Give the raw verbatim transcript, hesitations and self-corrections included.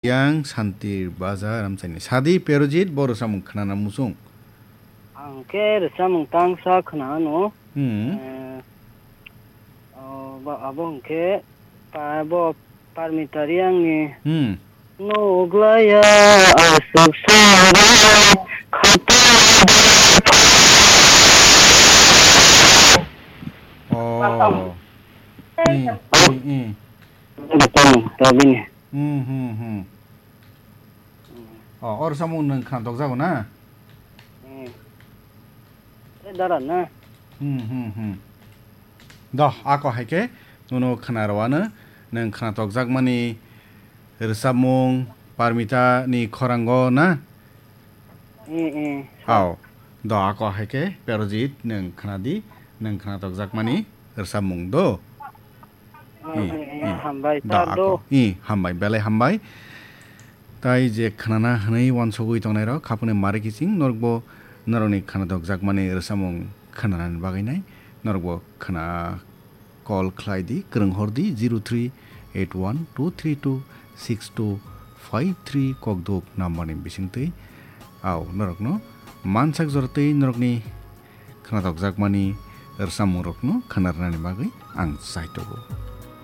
Yang Santir Baja Ramchaini. Sadi Perojit bo rwchapmung khnana muchung. Ang khe rwchapmung tangsa khnano. Hmm. Eh, o, bo, abo hwnkhe pa-, bo Parmita Riyangni. Hmm. Nuglaya aswk sari khata. Oh. Hmm, hmm, hmm. Rwchapmung ta bini. Hmm, hmm, hmm. Oh, o rwchapmung nwng khna tokjago na? Hmm. E dara na? Hmm, hmm, hmm. Do, ako hai khe nono khna rwano nwng khna tokjakmani rwchapmung Parmita ni khorango na? Hmm, hmm. Ao. Do, ako hai khe Perojit nwng khna di, nwng khna tokjakmani rwchapmung do. Hmm, hmm, hmm. Hambai, da, sir, do. Ako. Hmm, hambai, belai hambai. Tai je khnana hwnwi uansugwi tongnairok, khapangni mari kiching norokbo norokni khna tokjakmani rwchapmung khnanani bagwi nai. Norokbo khna call khlai di, kwrwng hor di, zero three eight one two three two six two five three kokduk number ni bisingtwi. Ao, norokno mansak joratwi norokni khna tokjakmani rwchapmungrokno khna rwnani bagwi ang chai tongo.